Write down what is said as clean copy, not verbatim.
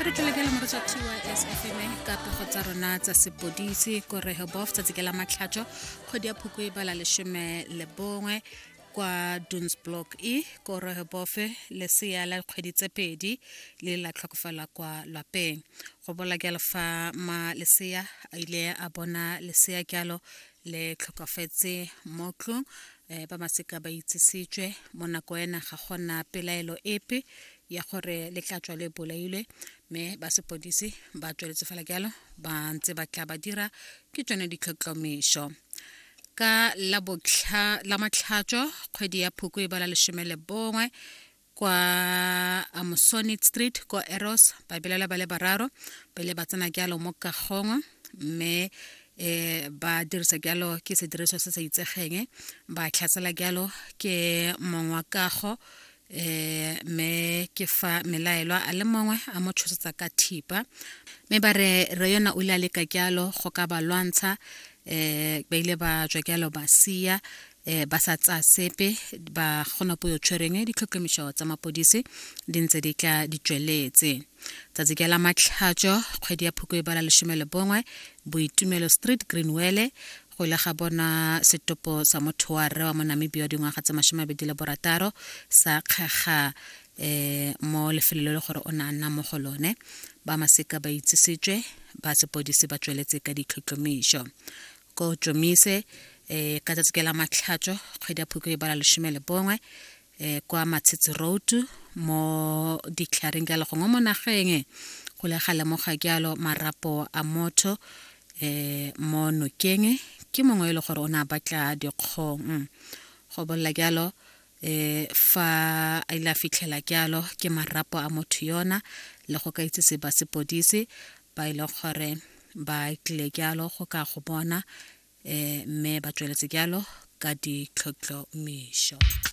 Re tlile ke le moretsa TYS FM ka pego tsa rona tsa sepodisi ko Rehoboth tsatsi ke la matlhatso kgwedi ya phukwi e bala 11 kwa Dunes Block E ko Rehoboth. Lesea la dikgwedi tse 2 le la tlhokofala kwa lwapeng. Go bola jalo fa ma lesea a ile a bona lesea jalo le tlhokafetse mo tlong. Ba masika ba itsisitswe mo nako ena, ga gona pelaelo epe ya gore le tla tswa le bolailwe, mme ba sepodisi ba tsweletse fela jalo ba ntse ba tla ba dira ke tsone ditlhotlhomiso. Ka la botlha la matlhatso kgwedi ya phukwi e bala 11 kwa Amosonit Street kwa Eros, ba belela ba le bararo ba ile ba tsena jalo mo kagong, mme ba dirisa jalo ke sediriswa se sa itsegeng, ba tlhatsela jalo ke mongwe wa kago, mme ke fa melaelwa a le mongwe a mo tshosetsa ka thipa, mme ba re re yona o ile a leka jalo go ka ba lwantsha. Ba ile ba tswa jalo ba sia, ba sa tsaya sepe, ba gona po yo tshwereng. Ditlhotlhomišo tsa mapodisi di ntse di tla di tsweletse. Tsatsi ke la matlhatso kgwedi ya phukwi e bala 11, Boitumelo Street, Greenwele, go ile ga bona setopo sa motho wa rre wa mo Namibia wa dingwaga tse 26 sa kgega mo lefelong le le gore o ne a nna mo go lone. Ba masika ba itsisitswe, ba sepodisi ba tsweletse ka ditlhotlhomišo. Ko Tsomise, ka tsatsi ke la matlhatso kgwedi ya phukwi e bala 11, kwa Matshetse Road mo ditlhareng jalo gongwe mo nageng, go le ga lemoga jalo marapo a motho mo nokeng ke mongwe e le gore o ne a batla dikgong. Go bolela jalo fa a ile a fitlhela jalo ke marapo a motho yona le go ka itsise ba sepodisi ba ile gore ba tlile jalo go ka go bona, mme ba tsweletse jalo ka ditlhotlhomišo.